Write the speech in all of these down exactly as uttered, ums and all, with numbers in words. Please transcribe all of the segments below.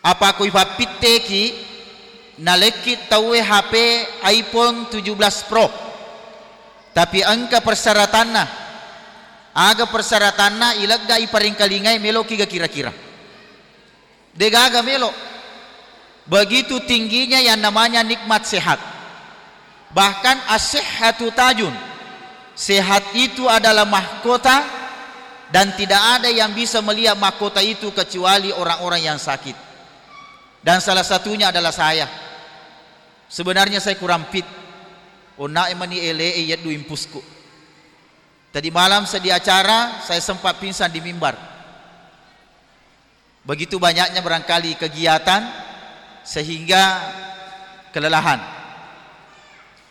Apa ko ipappitteki, nalekki tauwe H P iPhone tujuh belas Pro, tapi engka persyaratanna. Aga persyaratanna? Ilegga iparengkalingai, meloki ga kira-kira? Degaga melo. Begitu tingginya yang namanya nikmat sehat. Bahkan as-sihhatu tajun. Sehat itu adalah mahkota dan tidak ada yang bisa melihat mahkota itu kecuali orang-orang yang sakit. Dan salah satunya adalah saya. Sebenarnya saya kurang fit. Onna emani ele e yeddu impusku. Tadi malam sedih acara, saya sempat pingsan di mimbar. Begitu banyaknya barangkali kegiatan sehingga kelelahan.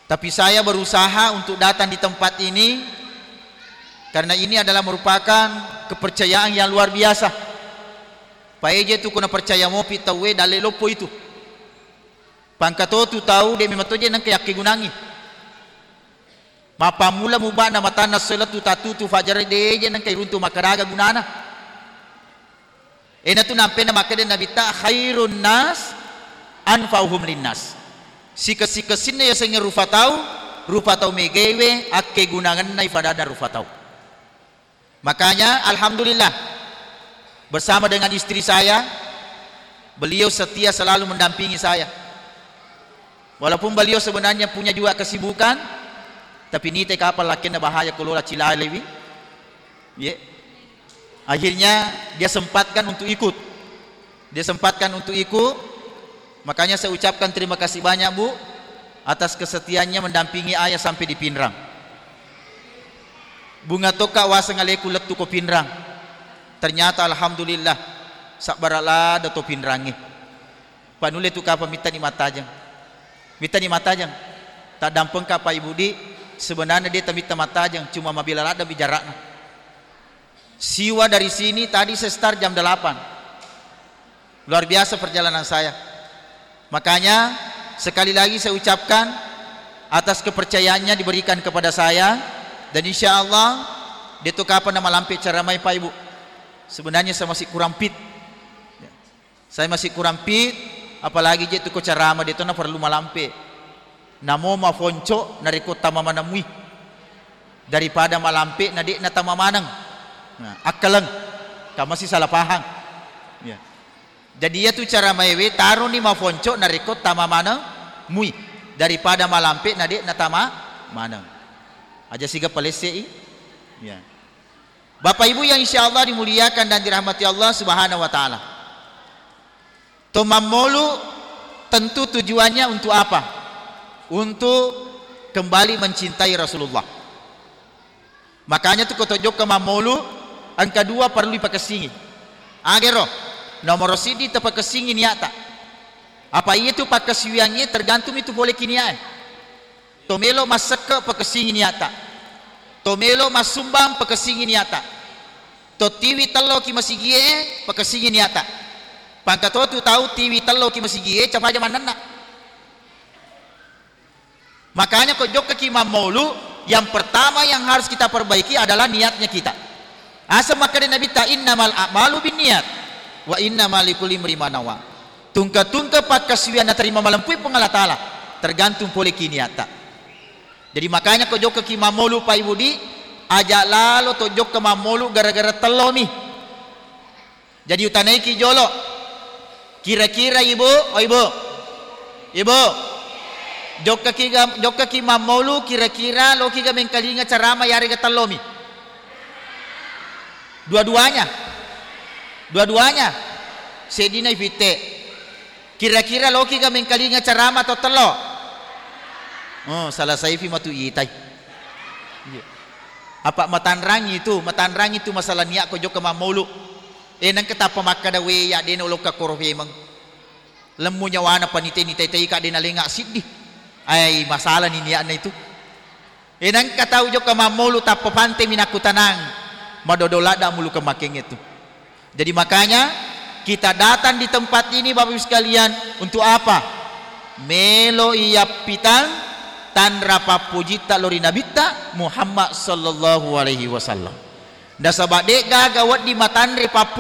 Tapi saya berusaha untuk datang di tempat ini karena ini adalah merupakan kepercayaan yang luar biasa. Paeje tu kuna percaya mopi tauwe dalle loppo itu. Pangkatotu tau de memang toje nengka yakkegunangi. Mappammula mubana matanna sela tu tatutu fajar de je nengka iruntu makkadaga gunana. Enatu nampena makkeda Nabitta, "Khairun nas anfa'uhum linnas." Sikessi-kessinna yasengnge rufa tau, rufa tau megewe akkegunangennai fadada rufa tau. Makanya, alhamdulillah, bersama dengan istri saya, beliau setia selalu mendampingi saya. Walaupun beliau sebenarnya punya juga kesibukan, tapi nite kapal lakkenna bahaya kelola cilalewi. Ye. Akhirnya dia sempatkan untuk ikut. Dia sempatkan untuk ikut. Makanya saya ucapkan terima kasih banyak, Bu, atas kesetiaannya mendampingi ayah sampai di Pinrang. Bunga tokka waseng aleku lettu ko Pinrang. Ternyata alhamdulillah, sabbara lada to Pinrangnge. Panulle tu kapang mittani mattajeng. Mittani mattajeng. Taddampengka Pak Ibu di, sebenarnya de tamitta mattajeng, cuma mabela ladde'mi jarakna. Siwa dari sini tadi saya start jam delapan. Luar biasa perjalanan saya. Makanya, sekali lagi saya ucapkan atas kepercayaannya diberikan kepada saya, dan insya Allah, de to kapang namalampe ceramai Pak Ibu. Sebenarnya saya masih kurang fit. Ya. Saya masih kurang fit, apalagi je tu ko ceramah de to na perlu malampe. Namo mafonco narekko tama maneng mui daripada malampe na de'na tama maneng. Nah, akkaleng. Ka masih salah paham. Ya. Jadi iyatu cara maewe taroni mafonco narekko tama maneng mui daripada malampe na de'na tama maneng. Aja siga palesse'i. Ya. Bapak Ibu yang insya Allah dimuliakan dan dirahmati Allah Subhanahu wa Ta'ala. To mammolu tentu tujuannya untuk apa? Untuk kembali mencintai Rasulullah. Makanya tu ko to jokka mammolu, engka dua perlu dipakessingi. Agero, nomoro siddi tapakessingi niatta. Apa iya tu pakkasiwiangnge tergantung itu pole ki niae. To melo massekke pakessingi niatta. To melo massumbang pakessingi niatta. To tiwi tello ki masigie pakessingi niatta. Pangkatotu tau tiwi tello ki masigie capaja mannenna. Makanya ko jokka ki mammolu, yang pertama yang harus kita perbaiki adalah niatnya kita. Asa makkeda Nabitta, "Innamal a'malu binniyat, wa innama likulli imri'in ma nawa." Tungke-tungke pakkasiwiang naterima malempui Puang Allah Ta'ala, tergantung pole ki niatta. Jadi makanya ko jokka ki mammolu Pak Ibu di, aja lalo to jokka mammolu gara-gara tellomi. Jadi utanaiki jolo. Kira-kira Ibu, oh Ibu. Ibu. Jokkaki ga, jokkaki mammolu kira-kira loki ga mengkalinga carama yarega tellomi? Dua-duanya. Dua-duanya. Seddina ifitte. Kira-kira loki ga mengkalinga carama to tello? Oh, salah saifi matu itai. Iya. Apa matanrangi itu, matanrangi itu masalah niat ko jokka mammolu. Eh, nengka tappa makkada, "We, ya, de na ulokka koro femeng. Lemmu nyawana panite ni taitai ka de na lenga siddi." Ai, masalah ni niatna itu. Eh, nengka tau jokka mammolu tappa pante mi nakkutanang. Madodo ladda mulu ke makeng itu. Jadi makanya kita datang di tempat ini Bapak Ibu sekalian untuk apa? Melo iyappitang tanra pappujitta lori Nabitta Muhammad sallallahu alaihi wasallam. Nasaba de'gaga wedding matanre pappu